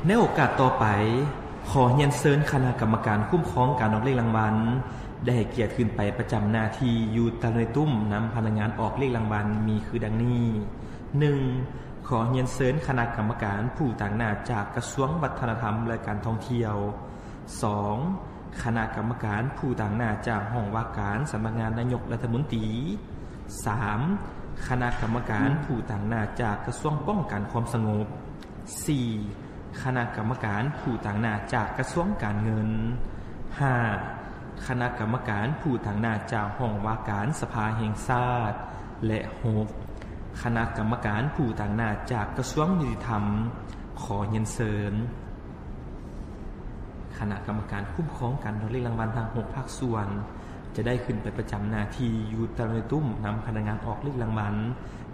ໃນໂອກາດຕໍ່ໄປ, ຂໍຮຽນເຊີນຄະນະກຳມະການຄຸ້ມຄອງການອອກເລກລາງວັນ ໄດ້ໃຫ້ກຽດຂຶ້ນໄປປະຈຳໜ້າທີ່ຢູ່ຕາລຸງໃນຕຸ້ມນຳພະນັກງານອອກເລກລາງວັນມີຄືດັ່ງນີ້: ໜຶ່ງ ຂໍຮຽນເຊີນຄະນະກຳມະການຜູ້ຕາງໜ້າຈາກກະຊວງວັດທະນະທຳ ແລະ ການທ່ອງທ່ຽວ. ສອງ ຄະນະກຳມະການຜູ້ຕາງໜ້າຈາກຫ້ອງວ່າການສຳນັກງານນາຍົກລັດຖະມົນຕີ. ສາມ ຄະນະກຳມະການຜູ້ຕາງໜ້າຈາກກະຊວງປ້ອງກັນຄວາມສະຫງົບ. ສີ່ ຄະນະກຳມະການຜູ້ຕາງໜ້າຈາກກະຊວງການເງິນ. ຫ້າ ຄະນະກຳມະການຜູ້ຕາງໜ້າຈາກຫ້ອງວ່າການສະພາແຫ່ງຊາດ. ແລະ ຫົກ ຄະນະກຳມະການຜູ້ຕາງໜ້າຈາກກະຊວງຍຸຕິທຳ. ຂໍຮຽນເຊີນ ຄະນະກຳມະການຄຸ້ມຄອງການອອກເລກລາງວັນທັງຫົກພາກສ່ວນ ຈະໄດ້ຂຶ້ນໄປປະຈຳໜ້າທີ່ຢູ່ຕາລຸງໃນຕຸ້ມນຳພະນັກງານອອກເລກລາງວັນ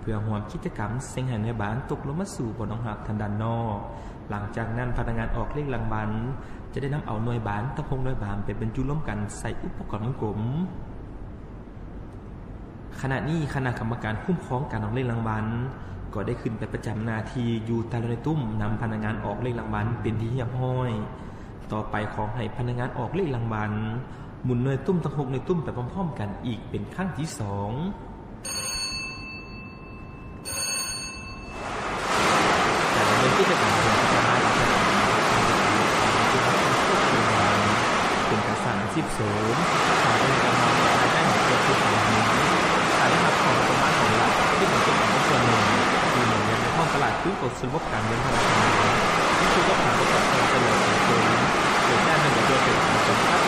ເພື່ອຮ່ວມກິດຈະກຳເສັງໃຫ້ນາຍບ້ານຕົກລົງມາສູ່ບ່ອນຮອງຮັບທາງດ້ານນອກ. ຫຼັງຈາກນັ້ນ, ພະນັກງານອອກເລກລາງວັນຈະໄດ້ນຳເອົາໜ່ວຍບານທັງຫົກໜ່ວຍບານໄປບັນຈຸລວມກັນໃສ່ອຸປະກອນວົງກົມ. ຂະນະນີ້, ຄະນະກຳມະການຄຸ້ມຄອງການອອກເລກລາງວັນ ກໍໄດ້ຂຶ້ນໄປປະຈຳໜ້າທີ່ຢູ່ຕາລຸງໃນຕຸ້ມນຳພະນັກງານອອກເລກລາງວັນເປັນທີ່ຮຽບຮ້ອຍ. ຕໍ່ໄປ, ຂໍໃຫ້ພະນັກງານອອກເລກລາງວັນ ໝູນໜ່ວຍຕຸ້ມທັງຫົກໜ່ວຍຕຸ້ມໄປພ້ອມໆກັນອີກເປັນຄັ້ງທີສອງ.